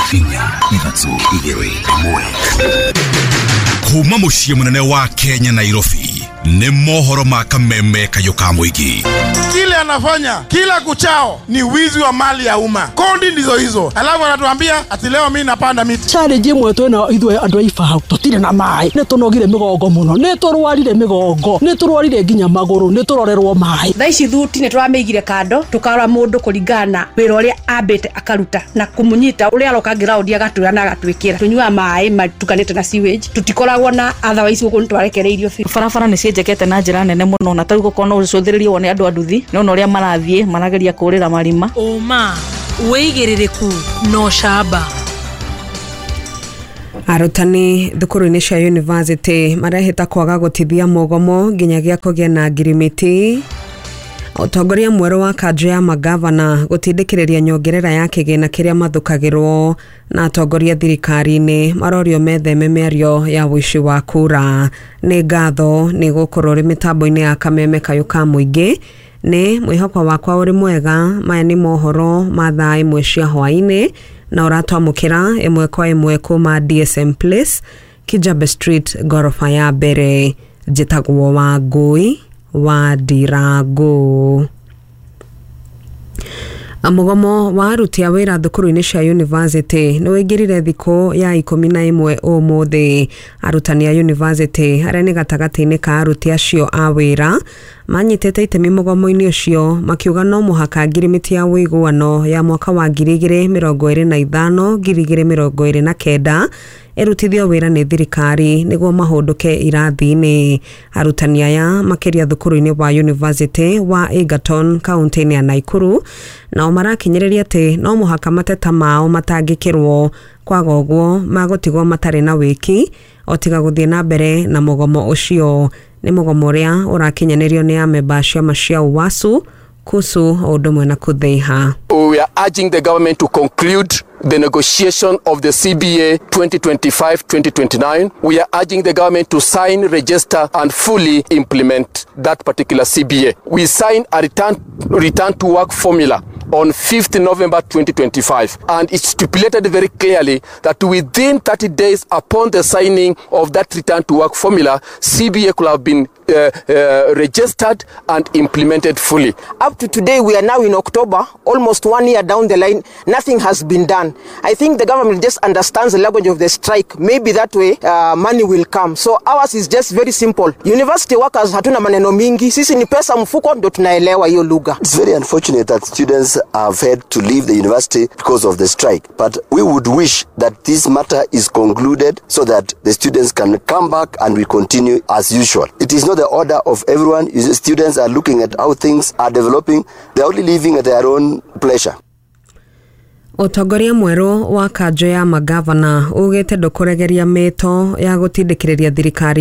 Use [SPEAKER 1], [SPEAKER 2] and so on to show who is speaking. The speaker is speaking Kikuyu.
[SPEAKER 1] 4 3 2 1. Kuma muciĩ mũnene wa Kenya, Nairobi, nĩ mohoro ma kameme kayũ ka mũingĩ.
[SPEAKER 2] Kile anafanya kila kuchao ni wizi wa mali ya umma. Kodi ndizo hizo, alafu anatuambia ati leo mimi napanda miti.
[SPEAKER 3] Challenge ĩmwe twĩna ithuĩ andũ a Ibao, tũtirĩ na maĩ, nĩ tũnogire mĩgongo mũno, nĩ tũrwarire mĩgongo, nĩ tũrwarire nginya magũrũ, nĩ tũrorerwo maĩ.
[SPEAKER 4] Thaa ici thuti nĩ tũramĩigire kando, tũkarora mũndũ kũringana na wĩra ũrĩa ambĩte akaruta na kũmũnyita ũrĩa aroka ground agatwĩra na agatwĩkĩra. Tũnyuaga maĩ matukanĩte na sewage, tũtikoragwo na otherwise gũkũ nĩ twarekereirio biũ.
[SPEAKER 5] Barabara nĩ cienjekete na njĩra nene mũno, na tarĩu gũkorwo no ũcũthĩrĩrie wone andũ a nduthi nĩ ũrĩa marathiĩ marageria kũrĩra marima.
[SPEAKER 6] Ũma wĩigĩrĩrĩku na ũcamba.
[SPEAKER 7] Arutani thukuru-inĩ cia university marehĩta kwaga gũtithia mũgomo nginyagia kũgĩe na ngirimiti. Ũtongoria mwerũ wa kanjũ ya magavana gũtindĩkĩrĩria nyongerera ya kĩgĩna kĩrĩa mathukagĩrwo, na atongoria thirikari-inĩ marorio metheme mĩario ya ũici wa kura. Nĩ ngatho nĩ gũkorwo ũrĩ mĩtambo-inĩ ya kameme kayũ ka mũingĩ. Nĩ mwĩhoko wakwa ũrĩ mwega. Maya nĩ mohoro ma thaa 1 cia hwaĩ-inĩ, na ũratwamũkĩra ĩmwe kwa ĩmwe kuma DSM Place, Kijabe Street, ngoroba ya mbere. Njĩtagwo Wangũi wa Ndirangu. Mũgomo wa aruti a wĩra thukuru-inĩ cia university nĩ ũingĩrire thikũ ya 11 ũmũthĩ. Arutani a university arĩa nĩ gatagatĩ-inĩ ka aruti acio a wĩra manyitĩte itemi mũgomo-inĩ ũcio, makiuga no mũhaka ngirimiti ya ũiguano ya mwaka wa 2025 2029 ĩrutithio wĩra nĩ thirikari nĩguo mahũndũke irathi-inĩ. Arutani aya makĩria thukuru-inĩ wa university wa Egerton kaunti-inĩ ya Nakuru nao marakinyĩrĩria atĩ no mũhaka mateta mao matangĩkĩrwo, kwaga ũguo magũtigwo matarĩ na wĩki o tiga gũthiĩ na mbere na mũgomo ũcio. Nĩ mũgomo ũrĩa ũrakinyanĩrio nĩ amemba a ciama cia UWASU, KUSU o ũndũ ũmwe na KUTHEIHA.
[SPEAKER 8] We are urging the government to conclude the negotiation of the CBA 2025-2029. We are urging the government to sign, register and fully implement that particular CBA. We signed a return to work formula on 5th November 2025, and it stipulated very clearly that within 30 days upon the signing of that return to work formula, CBA could have been registered and implemented fully.
[SPEAKER 9] Up to today, we are now in October, almost 1 year down the line, nothing has been done. I think the government just understands the language of the strike. Maybe that way money will come. So ours is just very simple. University workers hatuna maneno mingi, sisi ni pesa mfuko ndo tunaelewa hiyo lugha.
[SPEAKER 10] It's very unfortunate that students have had to leave the university because of the strike, but we would wish that this matter is concluded so that the students can come back and we continue as usual. It is not the order of everyone. Students are looking at how things are developing. They are only living at their own pleasure.
[SPEAKER 7] Ũtongoria mwerũ wa kanjũ ya magavana ugĩte ndũkũregeria mĩto ya gũtindĩkĩrĩria thirikari.